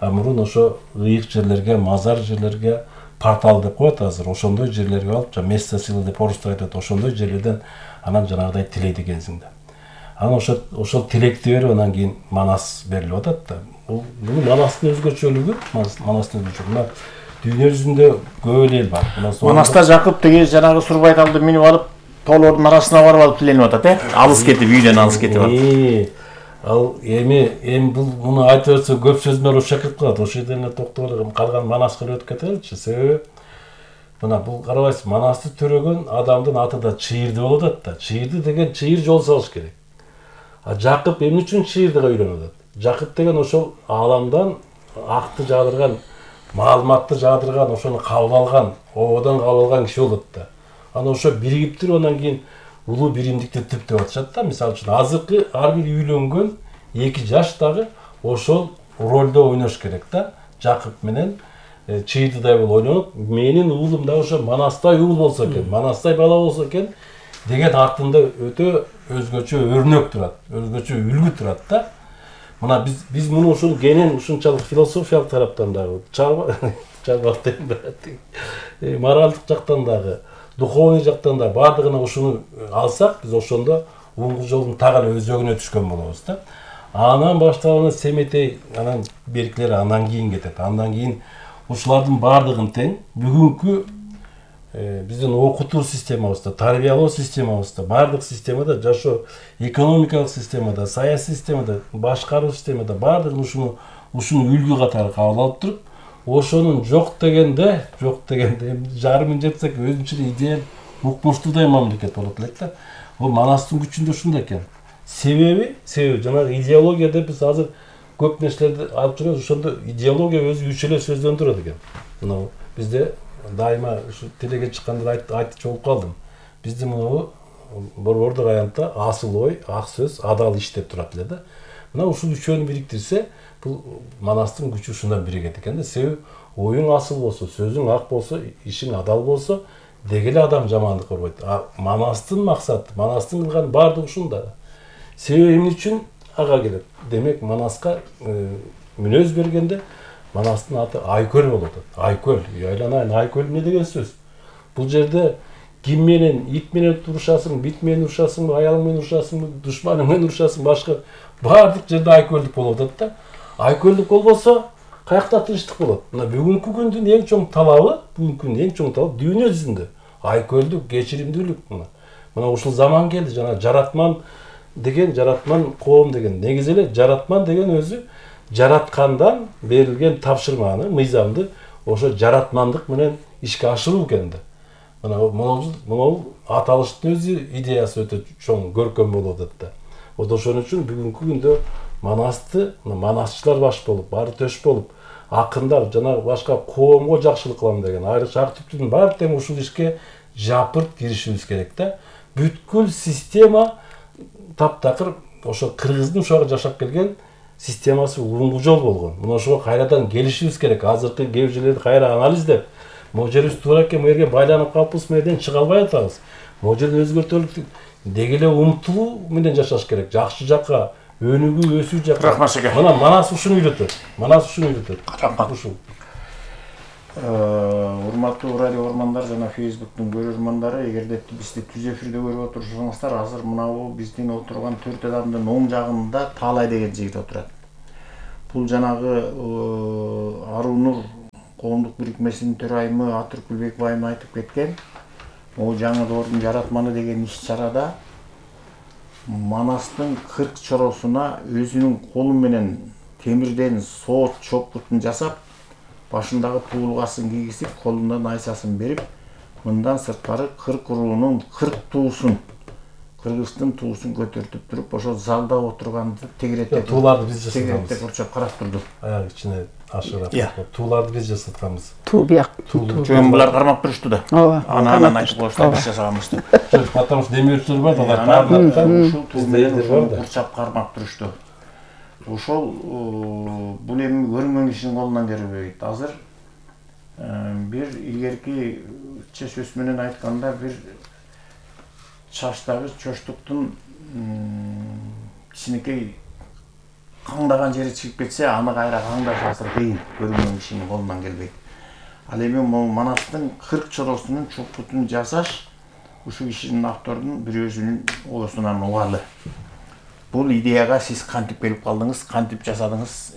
А мурун ошо ыйык жерлерге, мазар жерлерге портал деп коет азыр, ошондой жерлерге алып, место силы деп орустар айтат, ошондой жерлерден анан жанагыдай тилейт экенсиң да. Анан ошол тилекти берип анан кийин манас берилип атат да. Бул манастын өзгөчөлүгү, манастын өзгөчөлүгү. Мына дүйнө жүзүндө көп эл бар. Манаста Жакып деген жанагы Сурбайталды минип алып, тоолордун арасына барып алып тиленип атат, алыс кетип, үйдөн алыс кетип алып. Ал эми бул муну айтып берсе көп сөз менен ушакырып калат. Ошол жерден эле токтоп эле калган Манаска өтүп кетеличи. Себеби мына бул карабайсыз, Манасты төрөгөн адамдын аты да Чыйырды болуп атат да. Чыйырды деген чыйыр жол салыш керек. А Жакып эмне үчүн Чыйырдыга үйлөнүп атат? Жакып деген ошол ааламдан акты жаадырган, маалыматты жаадырган, ошону кабыл алган, ободон кабыл алган киши болот да. Анан ошо биригип туруп анан кийин улуу биримдикти түптөп атышат да. Мисалы үчүн азыркы ар бир үйлөнгөн 2 жаштагы ошол ролдо ойнош керек да. Жакып менен Чыйырдыдай болуп ойлонуп, менин уулум да ошо Манастай уул болсо экен, Манастай бала болсо экен деген артында өтө өзгөчө өрнөк турат, өзгөчө үлгү турат да. Мына биз муну ушул кенен ушунчалык философиялык тараптан дагы, чарбак деп моралдык жактан дагы, духовный жактан да бардыгына ушуну алсак, биз ошондо уңгу жолдун так эле өзөгүнө түшкөн болобуз да. Анан башталган Семетей, анан беркилер андан кийин кетет. Андан кийин ушулардын бардыгын тең бүгүнкү биздин окутуу системабызда, тарбиялоо системабызда, бардык системада, жашоо экономикалык системада, саясий системада, башкаруу системада бардыгын ушуну үлгү катары кабыл алып туруп, ошонун жок дегенде жарымын жетсек өзүнчө идея укмуштуудай мамлекет болот элек да. Бул Манастын күчүндө ушунда экен. Себеби жанагы идеология деп биз азыр көп нерселерди алып жүрөбүз. Ошондо идеология өзү 3 эле сөздөн турат экен. Мына бизде дайыма ушу телеге чыкканда айтып болуп калдым. Бизде мына борбордук аянтта асыл ой, ак сөз, адал иш деп турат эле да. Мына ушул үчөөнү бириктирсе, бул Манастын күчү ушундан биригет экен да. Себеби оюң асыл болсо, сөзүң ак болсо, ишиң адал болсо, деги эле адам жамандык көрбөйт. Манастын максаты, Манастын кылган бардыгы ушунда. Себеби эмне үчүн ага келет? Демек Манаска мүнөз бергенде Манастын аты Айкөл болуп атат. Айкөл, айланайын, Айкөл эмне деген сөз? Бул жерде ким менен, ит менен урушасың, бит менен урушасың, аял менен урушасың, душманың менен урушасың, башка бардык жерде айкөлдүк болуп атат да. Айкөлдүк болбосо каякта тынчтык болот? Мына бүгүнкү күндүн эң чоң талабы, дүйнө жүзүндө айкөлдүк, кечиримдүүлүк мына. Мына ушул заман келди, жана жаратман коом деген. Негизи эле жаратман деген өзү жараткандан берилген тапшырманы, мыйзамды ошо жаратмандык менен ишке ашыруу экен да. Мына аталыштын өзү идеясы өтө чоң, көркөм болуп атат да. Вот ошон үчүн бүгүнкү күндө Манасты, манасчылар баш болуп, баары төш болуп, акындар жана башка коомго жакшылык кылам деген айрыкча ак түптүн баары тең ушул ишке жапырт киришибиз керек да. Бүткүл система таптакыр ошо кыргыздын ушуга жашап келген системасы уңгу жол болгон. Мына ошого кайрадан келишибиз керек. Азыркы кээ жерлерди кайра анализдеп, могу жерибиз туура экен, могу жерге байланып калыппыз, менден чыга албай атабыз. Могу жерди өзгөртөлүк деги эле умтулуу менен жашаш керек. Жакшы жакка, өнүгүү, өсүү жакка. Мына Манас ушуну үйрөтөт. Рахмат. Ушул. Урматтуу радио көрөрмандар жана Facebooktун көрөрмандары, эгерде бизди түз эфирде көрүп отурсаңыздар, азыр мынабу биздин отурган 4 адамдын оң жагында Таалай деген жигит отурат. Бул жанагы Арунур коомдук бирикмесинин төрайымы Атыркүлбек байым айтып кеткен, могу жаңы доордун жаратманы деген иш-чарада Манастын 40 чоросуна өзүнүн колу менен темирден соот чопкутун жасап, башындагы туулгасын кийгизип, колунда найсасын берип, мындан сырткары 40 уруунун 40 туусун, кыргыздын туусун көтөртүп туруп, ошол залда отурганды тегереттеп, тууларды биз жасатканбыз. Тегереттеп урчап карап турду. Аяк ичине ашырап. Тууларды биз жасатканбыз. Туу бияк. Жөн булар кармап турушту да. Ооба. Анан айтып коюшту, биз жасаганбыз деп. Потому что демирчилер бар, алар кармап, ушул туу менен урчап кармап турушту. Ошол бул эми көрүнгөн кишинин колунан келбейт. Азыр бир илгерки сөз менен айтканда, бир чачтагы чоштуктун кичинекей каңдаган жери чыгып кетсе, аны кайра каңдаш азыр кыйын, көрүнгөн кишинин колунан келбейт. Ал эми могу Манастын 40 чоросунун чокутун жасаш ушул кишинин автордун бир өзүнүн оосунан угалы. Бул идеяга сиз кантип келип калдыңыз, кантип жасадыңыз,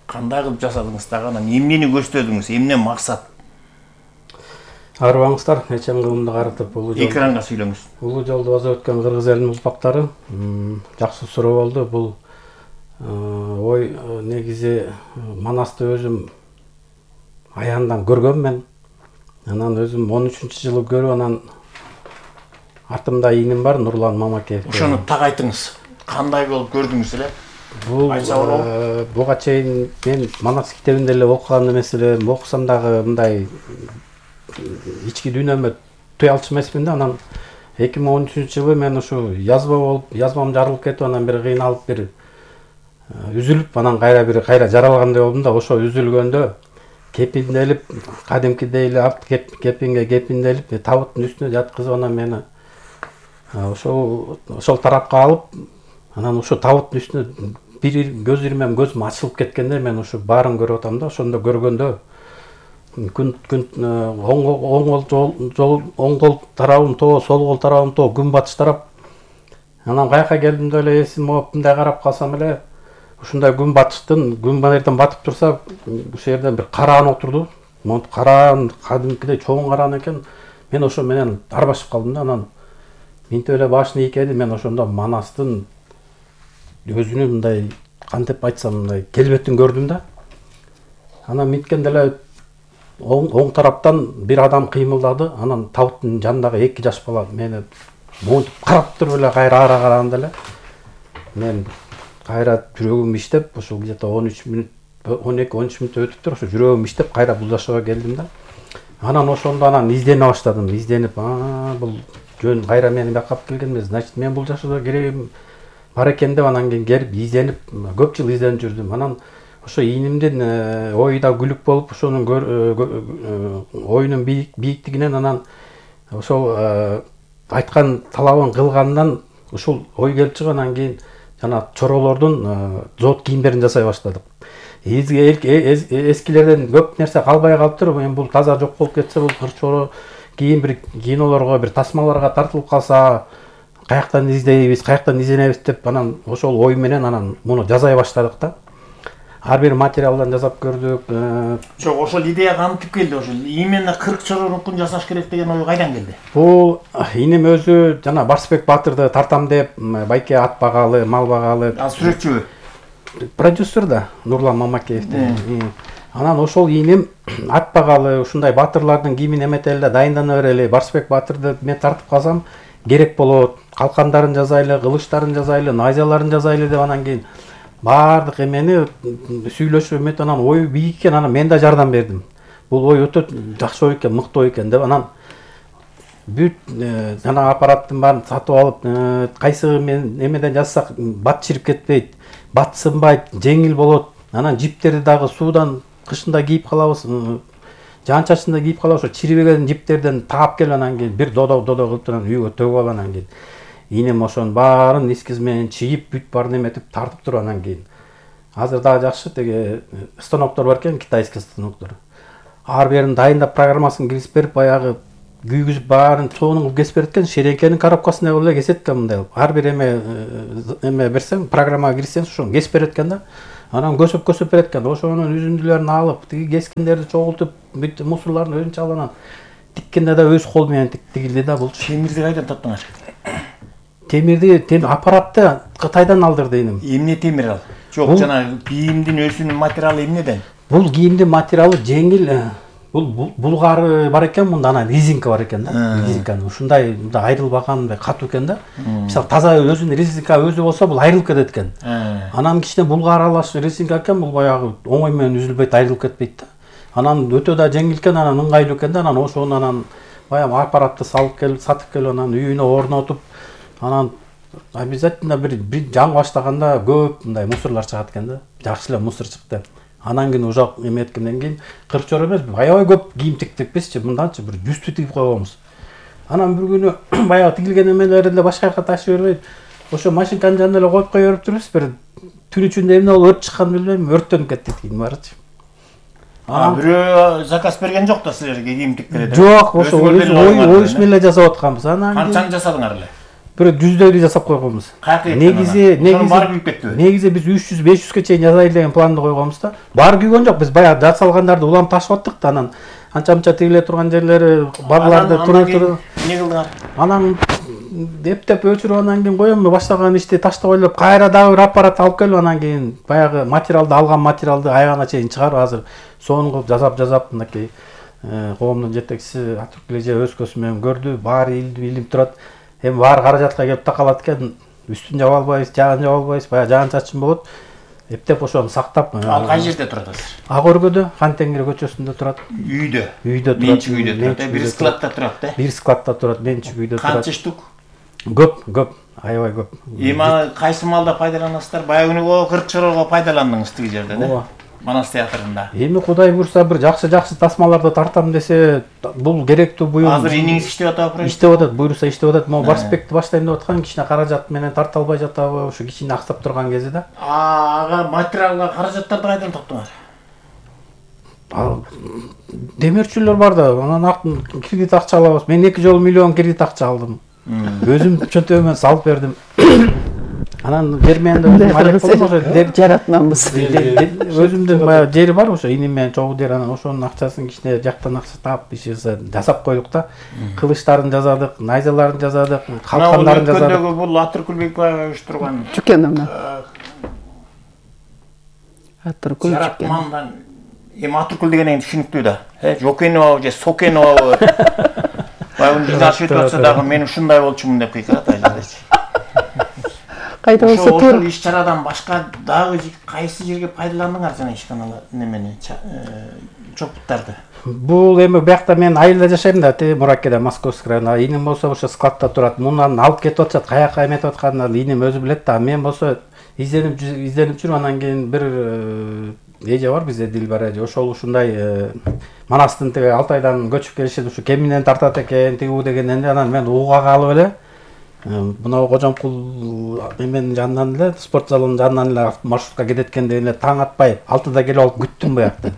кандай кылып жасадыңыз дагы, анан эмнени көздөдүңүз, эмне максат? Арыбаңыздар, нечем кылымды карытып Экранга сүйлөңүз. Улуу жолду басып өткөн кыргыз элинин узбактары жакшы суроо болду. Бул ой негизи Манасты өзүм аяндан көргөнмүн. Анан өзүм 13-жылы көрүп, анан артымда ийним бар, Нурлан Мамакеев. Ошону так айтыңыз. Кандай болуп көрдүңүз эле? Буга чейин мен Манас китебинде эле окуган эмес элем, окусам дагы мындай ички дүйнөмө туй алчу эмесмин да. Анан 2013-жылы мен ушу язмам жарылып кетип, анан бир кыйналып, бир үзүлүп, анан кайра жаралгандай болдум да. Ошо үзүлгөндө кепинделип, кадимкидей эле кепинделип, табыттын үстүнө жаткызып, анан мени ошол тарапка алып, анан ошо табыттын үстүнө бир көз ирмем көзүм ачылып кеткенде, мен ушу баарын көрүп атам да. Ошондо көргөндө күн оң кол тарабым то, сол кол тарабым то, күн батыш тарап. Анан каяка келдимде эле эсим болуп, мындай карап калсам эле, ушундай күн батыштан батып турса, ушул жерден бир караан отурду. Монтип караан, кадимкидей чоң караан экен. Мен ошо менен арбашып калдым да. Анан минтип эле башын ийкеди. Мен ошондо Манастын өзүнүн мындай, кантип айтсам, мындай келбетин көрдүм да. Анан минткенде эле оң тараптан бир адам кыймылдады. Анан табыттын жанындагы 2 жаш бала мени монтип карап туруп эле кайра ара караганда эле мен кайра жүрөгүм иштеп, ошол где-то 12-13 мүнөт өтүп туруп, ошо жүрөгүм иштеп кайра бул жашоого келдим да. Анан ошондо издене баштадым. Изденип, бул жөн кайра мени бияка алып келген эмес, значит мен бул жашоодо керегим бар экен деп, анан кийин келип изденип, көп жыл изденип жүрдүм. Анан ошо ийнимдин ою да күлүк болуп, ошонун оюнун бийиктигинен, анан ошол айткан талабын кылгандан ушул ой келип чыгып, анан кийин жана чоролордун зоот кийимдерин жасай баштадык. Эскилерден көп нерсе калбай калыптыр. Эми бул таза жок болуп кетсе, бул кыр чоро кийин бир кинолорго, бир тасмаларга тартылып калса, каяктан издейбиз, каяктан изденебиз деп, анан ошол ой менен анан муну жасай баштадык да. Ар бир материалдан жасап көрдүк. Жок, ошол идея кантип келди? Ошол именно 40 чорорункун жасаш керек деген ой кайдан келди? Бул иним өзү жана Барсбек Батырды тартам деп, байке ат багалы, мал багалы. Ал сүрөтчүбү? Продюсер да, Нурлан Мамакеевди. Анан ошол иним ат багалы, ушундай батырлардын кийимин эметели да, дайындана берели. Барсбек Батырды мен тартып калсам керек болот. Калкандарын жазайлы, кылычтарын жазайлы, найзаларын жазайлы деп, анан кийин баардык эмени сүйлөшүп эметип, анан ою бийик экен, анан мен да жардам бердим. Бул ой өтө жакшы ой экен, мыкты ой экен деп, анан бүт жана аппараттын баарын сатып алып, кайсы мен эмеден жазсак бат чирип кетпейт, бат сынбайт, жеңил болот. Анан жиптерди дагы суудан кышында кийип калабыз, жаан-чачында кийип калабыз. Ошо чирибеген жиптерден таап келип, анан кийин бир додо кылып анан үйгө төгүп алып, анан кийин инем ошонун баарын эскиз менен чийип, бүт баарын эметип тартып туруп, анан кийин азыр дагы жакшы теге станоктор бар экен, китайский станоктор. Ар берин дайындап программасын киргизип берип, баягы күйгүзүп баарын чоонун кылып кесип берет экен, шереңкенин коробкасындай кылып эле кесет экен мындай. Ар бир эме берсең, программага кирсең, ошону кесип берет экен да. Анан көсөп берет экен. Ошонун үзүндүлөрүн алып, тиги кескиндерди чогултуп, бүт мусорлорун өзүнчө алып, анан тиккенде да өз кол менен тигилди да. Бул темирди кайдан таптыңар? Темирди аппаратты Кытайдан алдырды иним. Эмне темир ал? Жок, жана кийимдин өзүнүн материалы эмнеден? Бул кийимдин материалы жеңил. Бул булгары бар экен, мында анан резинка бар экен да. Резинканы ушундай айрылбаган, катуу экен да. Мисалы таза өзүнүн резинка өзү болсо, бул айрылып кетет экен. Анан кичине булгар аралаш резинка экен, бул баягы оңой менен үзүлбөйт, айрылып кетпейт да. Анан өтө да жеңил экен, анан ыңгайлуу экен да. Анан ошону анан баягы аппаратты салып келип, сатып келип, анан үйүнө орнотуп, анан обязательно бир жан баштаганда көп мындай мусорлор чыгат экен да. Жакшы эле мусор чыкты. Анан кийин ужак эметкенден кийин 40 чор эмес, аябай көп кийим тиктик бизчи, мындачы бир 100 тигип койгонбуз. Анан бир күнү баягы тигилген эмелерди эле башка жака ташып бербей, ошо машинканын жанына эле коюп кое берип турбуз. Бир түн ичинде эмне болуп өрт чыкканын билбейм, өрттөнүп кетти кийин барычы. Бирөө заказ берген жок да силерге кийим тиккиле деп. Жок, ошо ойуш менен жасап атканбыз. Анан Канчаны жасадыңар эле? бир жүздөрү жасап койгонбуз. Негизи баары күйүп кеттиби? Негизи биз 300-500ге чейин жасайлы деген планды койгонбуз да. Баары күйгөн жок. Биз баягы жасалгандарды улам ташып аттык да, анан анча-мынча тигиле турган жерлери барларды туруп. Эмне кылдыңар? Анан эптеп өчүрүп анан кийин коем баштаган ишти таштап ойлоп, кайра дагы бир аппарат алып келип анан кийин баягы материалды алган материалды аягына чейин чыгарып азыр сонун кылып жасап мынакей коомдун жетекчиси Атуркул эже өз көзү менен көрдү, баары илип турат. Эми баары каражатка келип такалат экен, үстүн жаба албайбыз, жагын жаба албайбыз, баягы жагын чачын болот. Эптеп ошону сактап. Ал кай жерде турат азыр? Ак өргөдө, Хан Теңир көчөсүндө турат. Үйдө. Турат. Менчик үйдө турат. Бир складта турат да. Бир складта турат, менчик үйдө турат. Канча штук? Көп, аябай көп. Эми кайсы маалда пайдаланасыздар? Баягы күнү 40 чорого пайдаландыңыз тиги жерде да? Манас театрында. Эми Кудай буйруса бир жакшы тасмаларды тартам десе, бул керектүү буюм. Азыр иниңиз иштеп атабы? Иштеп атат, буйруса иштеп атат. Могу Барсбекти баштайм деп аткан, кичине каражат менен тарта албай жатабы, ошо кичине аксап турган кези да. Ага, материалга каражаттарды кайдан топтоңор? Демирчүлөр бар да, анан кредит акча алабыз. Мен 2 жолу миллион кредит акча алдым. Өзүм чөнтөгүмөн салып бердим. Анан жер менен деп жаратманбыз. Өзүмдүн баягы жери бар ошо, иним менен чогуу жер, анан ошонун акчасын кичине жактан акча таап жасап койдук да. Кылычтарын жасадык, найзаларын жасадык, калкандарын жасадык. Өткөндөгү бул Атуркул Бекбаев уюштурган Чүкенов. Атуркул жаратмандан эми Атуркул деген түшүнүктүү да. Жокенова же Сокенова. Баягы жинаш өтүп атса дагы мен ушундай болчумун деп кыйкырат айылдачы. Кайда болсо ошол иш чарадан башка дагы кайсы жерге пайдаландыңар жана ишканалар немени чокуттарды? Бул эми биякта мен айылда жашайм да, Мураккеде, Московский районунда. Иним болсо ошо складта турат. Мундан алып кетип атышат, каяка эметип атканын иним өзү билет да. Мен болсо изденип жүрүп анан кийин бир эже бар бизде, Дилбар эже. Ошол ушундай Манастын тиги Алтайдан көчүп келишет, ушу кеминен тартат экен, тигүү дегенден анан мен ууга калып эле мына Кожомкул эменин жанынан эле, спорт залынын жанынан эле маршрутка кетет экен деп эле таң атпай 6-да келип алып күттүм буякта.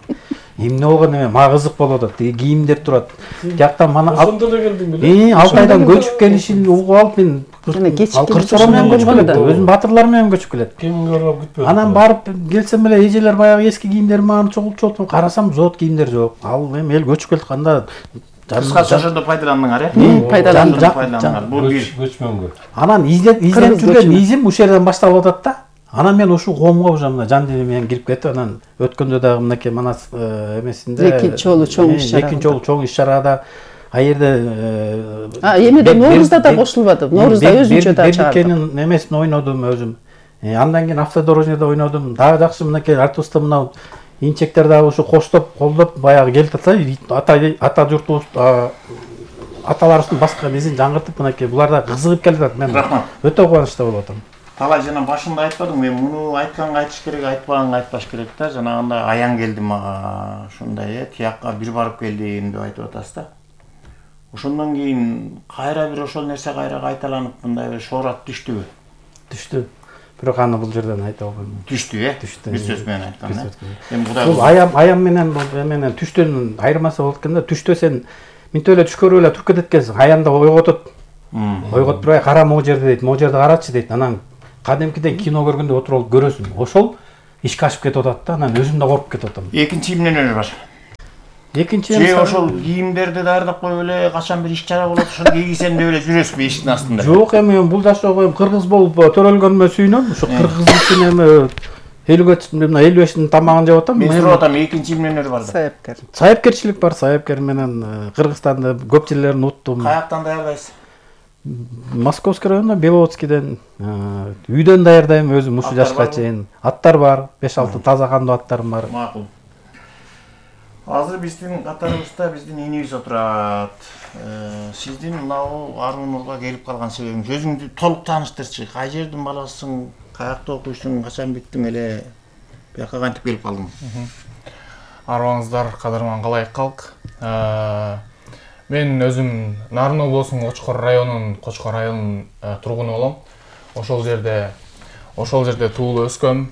Эмне болгон эме, мага кызык болуп атат. Тиги кийимдер турат. Жактан мана ошондо эле келдиң беле? Алтайдан көчүп келишин угуп алып мен кырчыроо менен көчүп келет. Өзүнүн батырлары менен көчүп келет. Кимге барып күтпөдү? Анан барып келсем эле эжелер баягы эски кийимдер мага чогултуп атып, карасам зоот кийимдер жок. Ал эми эл көчүп келатканда кыскасы ошондо пайдаландыңар, э? Пайдаландыңар. Бул бир көчмөнгө. Анан издеп жүргөн изим ушул жерден башталып атат да. Анан мен ушул коомго уже мына жан денем менен кирип кетип, анан өткөндө дагы мынакей Манас эмесинде экинчи жолу чоң иш чарада аерде эмеде Ноорузда да кошулбадым. Ноорузда өзүнчө да чыгардым. Бердикенин эмесин ойнодум өзүм. Андан кийин автодорожныйда ойнодум. Дагы жакшы мынакей артистер мына инчектер дагы ушу коштоп, колдоп баягы келип атса, ата журтубуз аталарыбыздын баскан изин жаңыртып мынакей булар да кызыгып келатат. Мен өтө кубанычта болуп атам. Талай жана башында айтпадым, мен муну айтканга айтыш керек, айтпаганга айтпаш керек да. Жанагындай аян келди мага, ушундай тиякка бир барып келдим деп айтып атасыз да. Ошондон кийин кайра бир ошол нерсе кайра кайталанып мындай бир шоорат түштүбү? Түштү. Бирок аны бул жерден айта албайм. Түштү, Түштү. Бир сөз менен айтканда. Эми бул аям менен менен түштөн айырмасы болот экен да. Түштө сен минтип эле түш көрүп эле туруп кетет экенсиң. Аямда ойготот. Ойготуп турбай, кара могу жерди дейт, могу жерди карачы дейт. Анан кадимкиден кино көргөндө отуруп көрөсүң. Ошол ишке ашып кетип атат да. Анан өзүм да коруп кетип атам. Экинчи эмнелер бар? Экинчи ошол кийимдерди даярдап коюп эле качан бир иш чара болот, ошону кийгизем деп эле жүрөсүзбү эшиктин астында? Жок, эми бул жашоо кыргыз болуп төрөлгөнүмө сүйүнөм. Ушу кыргыздын эми 55-тин тамагын жеп атам. Мен сурап атам, экинчи эмнелер бар деп. Саяпкерчилик бар, саяпкер менен Кыргызстанды көп жерлерин уттум. Каяктан даярдайсыз? Московский районунда, Беловодскийден, үйдөн даярдайм өзүм ушул жашка чейин. Аттар бар, 5-6 таза кандуу аттарым бар. Макул. Азыр биздин катарыбызда биздин инибиз отурат. Сиздин мынау Аруу Нурга келип калган себебиңиз, өзүңдү толук тааныштырчы. Кай жердин баласысың, каякта окуйсуң, качан биттиң эле, бияка кантип келип калдың? Арыбаңыздар, кадырман калайык калк. Мен өзүм Нарын облусунун Кочкор районунун тургуну болом. Ошол жерде туулуп өскөм.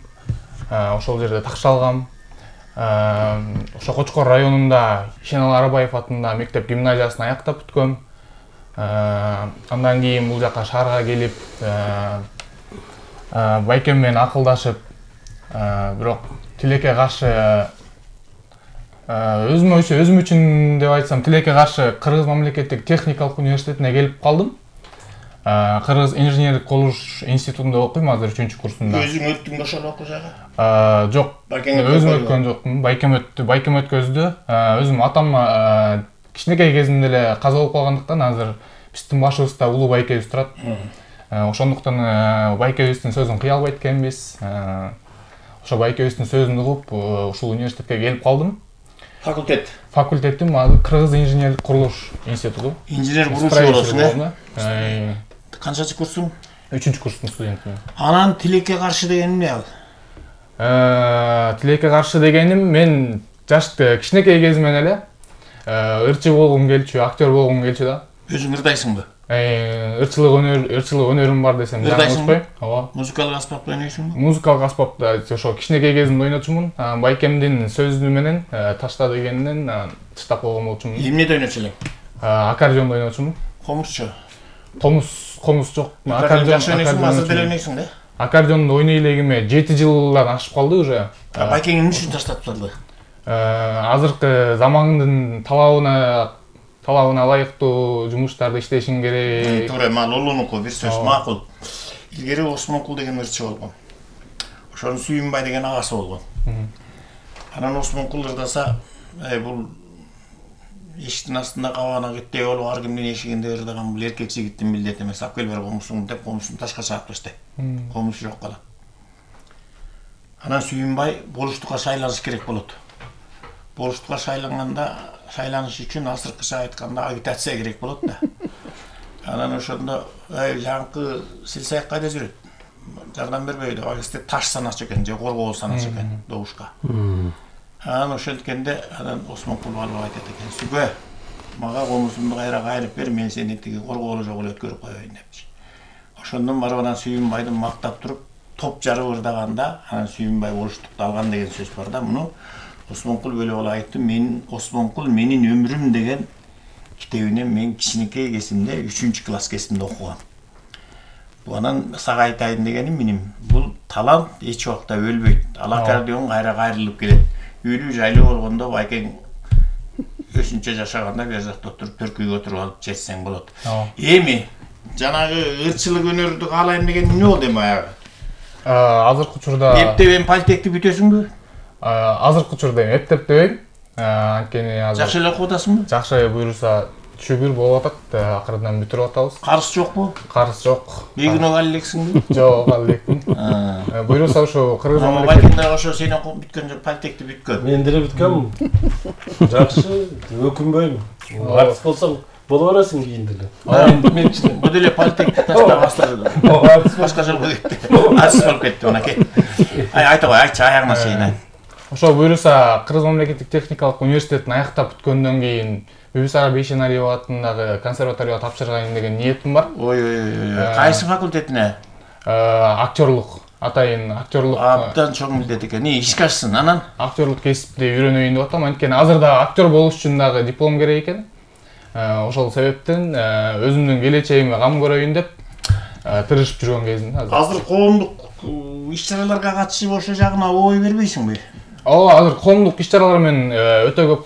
Ошол жерде такшалгам. ошо Кочкор районунда Ишенал Арабаев атындагы мектеп гимназиясын аяктап бүткөм. Андан кийин бул жака шаарга келип, байкем менен акылдашып, бирок тилекке каршы өзүм үчүн деп айтсам, тилекке каршы Кыргыз мамлекеттик техникалык университетине келип калдым. Кыргыз инженерлик колуш институтунда окуйм азыр 3-курсунда. Өзүң өттүң ошол окуу жагы? Жок. Өзүм өткөн жокмун. Байкем өткөздү. Өзүм атам кичинекей кезимде эле каза болуп калгандыктан азыр биздин башыбызда улуу байкебиз турат. Ошондуктан байкебиздин сөзүн кыя албайт экенбиз. Ошо байкебиздин сөзүн угуп, ушул университетке келип калдым. Факультетим Кыргыз инженерлик курулуш институту. Инженер куруушу болосуң, Канчачы курсуң? 3-курстун студентимин. Анан тилекке каршы деген эмне ал? Тилекке каршы дегеним, мен кичинекей кезимден эле ырчы болгум келчү, актер болгум келчү да. Өзүң ырдайсыңбы? Ырчылык өнөрүм бар десем жаңылышпайм. Ооба. Музыкалык аспапты ойнойсуңбу? Музыкалык аспапты ошо кичинекей кезимде ойночумун. Байкемдин сөзү менен ташта дегенинен таштап койгон болчумун. Эмнеде ойночу элең? Аккордеондо ойночумун. Комузчу? Комуз жок. Аккордеон азыр деле ойнойсуң да? Аккордеондо ойной элегиме 7 жылдан ашып калды уже. Байкең эмне үчүн таштап салды? Азыркы замандын талабына ылайыктуу жумуштарды иштешиң керек. Туура, Лолунуку бир сөз макул. Илгери Осмонкул деген ырчы болгон. Ошонун Сүйүнбай деген агасы болгон. Анан Осмонкул ырдаса, бул эшиктин астында кабагына кеттей болуп, ар кимдин эшигинде ырдаган бул эркек жигиттин милдети эмес. Алып кел бер комузуңду деп, комузун ташка чаап таштайт. Комуз жок калат. Анан Сүйүнбай болуштукка шайланыш керек болот. Болуштукка шайланыш үчүн азыркыча айтканда агитация керек болот да. Анан ошондо жаңкы Силсаяк кайда жүрөт? Жардам бербейби деп агисте таш саначу экен, же коргоо саначу экен добушка. Анан ошенткенде анан Осмонкул алып айтат экен: "Сүгө, мага комузумду кайра кайрып бер, мен сени тиги коргоолу жок эле өткөрүп коеюн" депчи. Ошондон барып анан Сүйүнбайды мактап туруп, топ жарып ырдаганда, анан Сүйүнбай болуштукту алган деген сөз бар да. Муну Осмонкул бөлөп айтты. Мен Осмонкул менин өмүрүм деген китебинен мен кичинекей кезимде 3-класс кезимде окугам. Анан сага айтайын дегеним менин, бул талант эч убакта өлбөйт. Ал аккордеон кайра кайрылып келет. Үйлүү жайлуу болгондо байкең өсүнчө жашаганда бер жакта отуруп төркүйгө отуруп алып чечсең болот. Эми жанагы ырчылык өнөрдү каалайм деген эмне болду эми аягы? Азыркы учурда эптебен пальтекти бүтөсүңбү? Азыркы учурда эптеп дебейм. Анткени азыр жакшы эле окуп атасыңбы? Жакшы буюрса шүгүр болуп атат, акырдан бүтүрүп атабыз. Карыз жокпу? Карыз жок. Бегүнөө ал элексиңби? Жок, ал элекмин. Буюрса ошо Кыргыз мамлекетинде ошо сен окуп бүткөн жок, пальтекти бүткөн. Мен деле бүткөм. Жакшы, өкүнбөйм. Артист болсоң боло бересиң кийин деле. Мен бу деле пальтекти таштап баштады. Башка жолго кетти. Артист болуп кетти мынакей. Айта кой, айтчы аягына чейин. Ошо буюрса Кыргыз мамлекеттик техникалык университетин аяктап бүткөндөн кийин Бүбүсара Бейшеналиева атындагы консерваторияга тапшыргайын деген ниетим бар. Кайсы факультетине? Актерлук. Атайын актерлук. Абдан чоң милдет экен. Ишке ашсын, анан актерлук кесипти үйрөнөйүн деп атам. Анткени азыр да актер болуш үчүн дагы диплом керек экен. Ошол себептен өзүмдүн келечегиме кам көрөйүн деп тырышып жүргөн кезимде азыр. Азыр коомдук иш-чараларга катышып ошо жагына ой бербейсиңби? Азыр коомдук иш-чаралар менен өтө көп